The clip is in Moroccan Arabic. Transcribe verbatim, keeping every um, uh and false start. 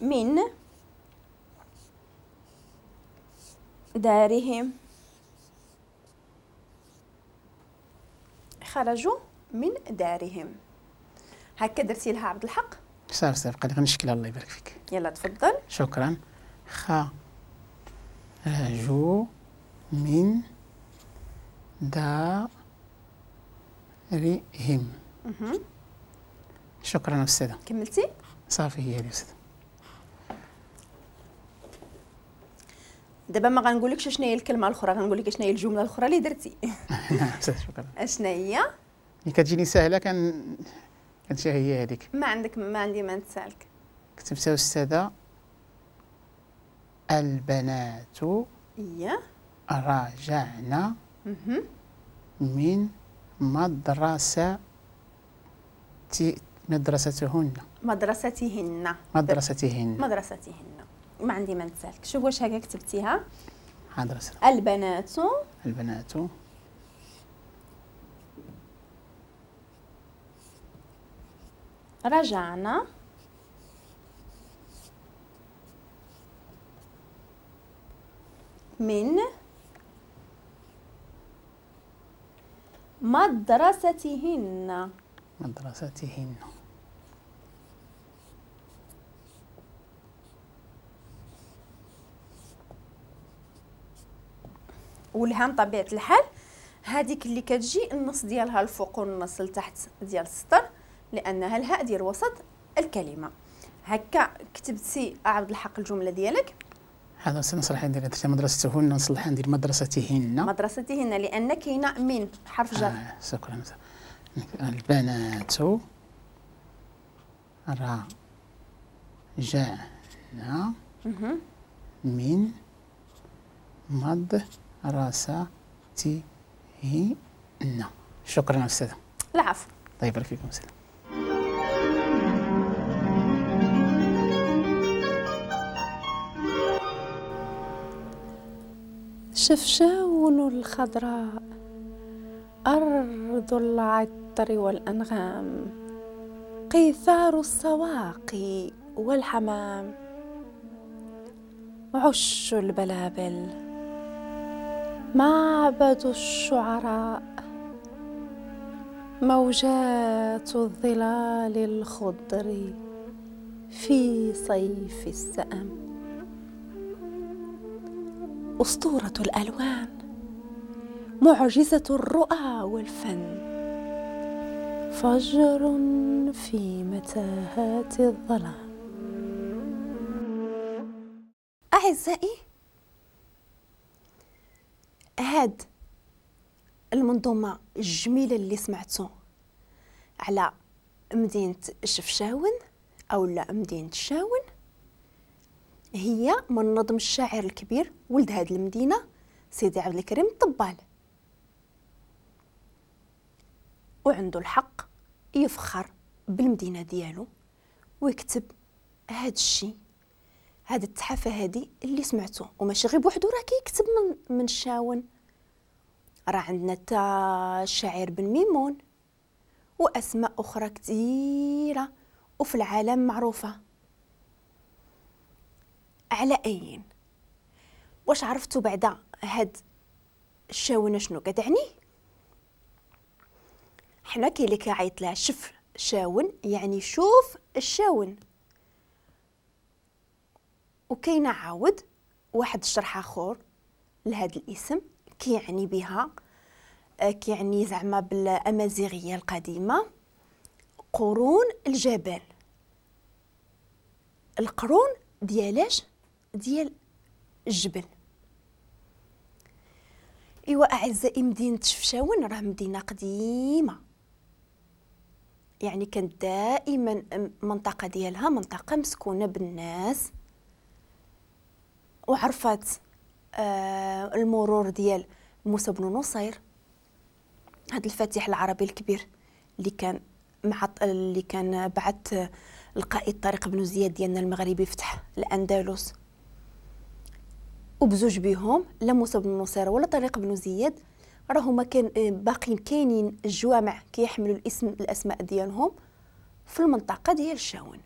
من دارهم. خرجوا من دارهم. هكا درتي لها عبد الحق؟ صافي صافي بقى لي غنشكلها. الله يبارك فيك. يلا تفضل. شكرا. خرجوا من دارهم. شكرا أستاذة. كملتي؟ صافي هي هذه أستاذة. دابا ما غنقولكش شنو هي الكلمة الاخرى، غنقول لك شنو هي الجملة الاخرى اللي درتي. نعم أستاذة شكرا. اشنا هي؟ اللي كتجيني سهلة كان كانت هي هذيك. ما عندك ما عندي ما نتسالك. كتبتها أستاذة البنات إيه راجعنا من مدرسة مدرستهن مدرستهن مدرستهن مدرستهن. ما عندي ما نتسالك. شوف واش هكا كتبتيها. حاضر. البنات البنات رجعنا من مدرستهن مدرستهن. والهام طبيعة الحال هذيك اللي كتجي النص ديالها الفوق والنص لتحت ديال السطر، لانها الهاء ديال وسط الكلمة. هكا كتبتي عبد الحق الجملة ديالك. هذا سنصلح ندير مدرستهن، نصلح ندير مدرستهن مدرستهن لان كاينه من حرف جر. آه شكرا. البنات رجعنا من مدرستهن. شكرا أستاذة. العفو. الله يبارك فيكم أستاذة. شفشاون الخضراء أرض العطر والأنغام، قيثار السواقي والحمام، عش البلابل معبد الشعراء، موجات الظلال الخضر في صيف السأم، أسطورة الألوان، معجزة الرؤى والفن، فجر في متاهات الظلام. أعزائي، هاد المنظومة الجميلة اللي سمعتو على مدينة شفشاون أو لا مدينة شاون هي من نظم الشاعر الكبير ولد هاد المدينة سيدي عبد الكريم الطبال، وعنده الحق يفخر بالمدينة ديالو ويكتب هاد الشيء، هاد التحفة هادي اللي سمعتو. وماشي غير بوحدو راه كيكتب من من الشاون، راه عندنا تا الشاعر بن ميمون واسماء اخرى كثيرة وفي العالم معروفة. على اين واش عرفتوا بعدا هاد الشاونه شنو كتعني؟ حنا كاين اللي كيعيط لها شف شاون، يعني شوف الشاون. وكاين عاود واحد الشرح اخر لهاد الاسم كيعني بها، كيعني زعما بالامازيغيه القديمة قرون الجبل. القرون ديالاش؟ ديال الجبل. ايوا اعزائي، مدينة شفشاون راه مدينة قديمة، يعني كانت دائما المنطقة ديالها منطقة مسكونة بالناس، وعرفت آه المرور ديال موسى بن نصير، هذا الفاتح العربي الكبير اللي كان مع اللي كان بعث القائد طارق بن زياد ديالنا المغربي فتح الاندلس. وبزوج بهم لا موسى بن نصير ولا طارق بن زياد راهما كان باقيين كاينين الجوامع كيحملوا الاسم الاسماء ديالهم في المنطقة ديال الشاون.